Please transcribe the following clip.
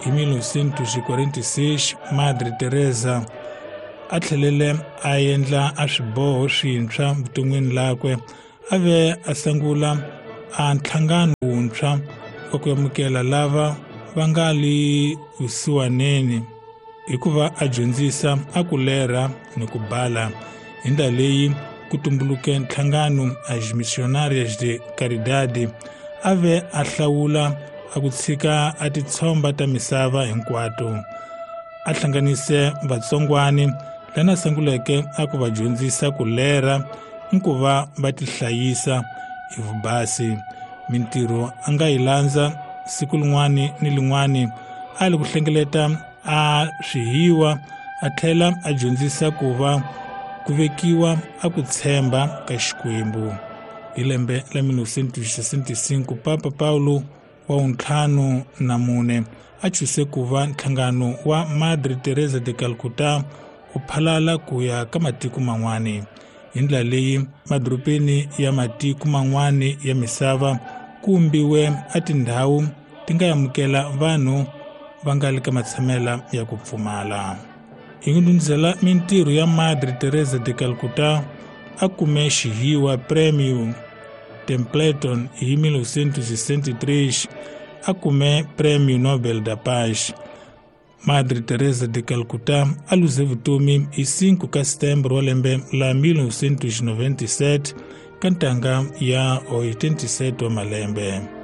Hi 1946 Madre Teresa a tlhelele a endla a swiboho swintshwa vuton'wini lakwe, a ve a sungula a nhlangano wuntshwa wa ku amukela lava va nga le vusiwaneni hikuva a dyondzisa a ku lerha ni ku bala. Hi ndlela leyi ku tumbuluke nhlangano As Missionárias de Caridade, a ve a hlawula a ku tshika a titshomba ta misava hinkwato. A hlanganise vatsongwani lana sunguleke a ku va dyondzisa ku lerha ni ku va va tihlayisa hi vubasi. Mintirho a nga yi landza siku lin'wani ni lin'wani, a li ku hlengeleta a swihiwa, a tlhela a dyondzisa ku va ku vekiwa a ku tshemba ka Xikwembu. Hi lembe la 1965 Papa Paulo wa 54 a chuse ku va nhlangano wa Madre Teresa de Calcutta u phalala ku ya ka matiko man'wani. Hi ndlela leyi madorobeni ya matiko man'wani ya misava ku vumbiwe a tindhawu ti nga amukela vanhu va nga le ka matshamela ya ku pfumala. Hi ku ndundzela mintirho ya Madre Teresa de Calcutta a kume xihiwa Prêmio Templeton hi 1963, a kume Prêmio Nobel da Paz. Madre Teresa de Calcutta a luze vutomi hi 5 ka Setembro wa lembe la 1997 ka ntanga ya 87 wa malembe.